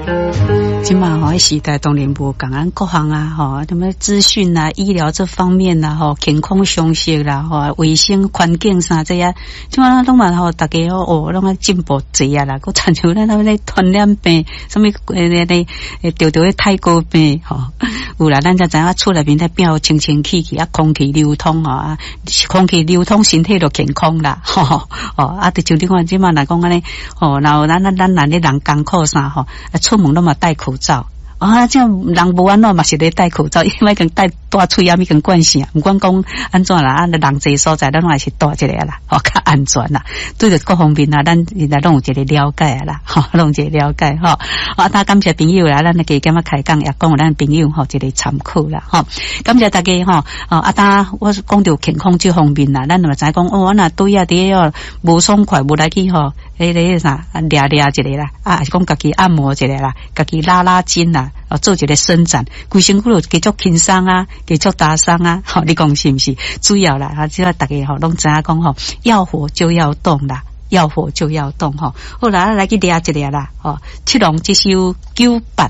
這馬吼，時代當然無仝咱各項啊，吼，什麼資訊啊、醫療這方面啊，吼，健康常識啦，吼，衛生環境啥這啊，這馬攏嘛吼，大家哦，攏愛進步濟啊啦，閣親像咱那咧傳染病，啥物欸咧著著咧泰國病吼，有啦，咱才知影厝內面咧變清清氣氣啊，空氣流通吼啊，空氣流通，身體就健康啦，吼哦啊，就像你看這馬來講按呢，吼，然後咱咱咱咱咧人艱苦啥吼，啊，出門攏嘛戴口罩。啊，這人無按怎嘛是咧戴口罩，因為跟戴戴喙仔已經慣勢啊。毋管講按怎啦，啊，人濟所在，咱攏還是戴一下啦，吼，較安全啦。對著各方面啊，咱現在攏有一個了解啊啦，吼，攏有一個了解吼。啊，感謝朋友啦，咱加減仔開講也講予咱朋友吼一個參考啦，吼。感謝大家吼，哦，啊，當我講著健康這方面啦，咱嘛知講哦，我若對啊佇咧無爽快，無來去吼，彼个啥掠掠一下啦，啊，還是講家己按摩一下啦，家己拉拉筋啦。哦，做一個伸展，規身軀就繼續輕鬆啊，繼續打鬆啊，吼，你講是毋是？主要啦，啊，只要大家吼攏知影講吼，要活就要動啦，要活就要動吼。好啦，來去掠一掠啦，吼，七龍這首九八。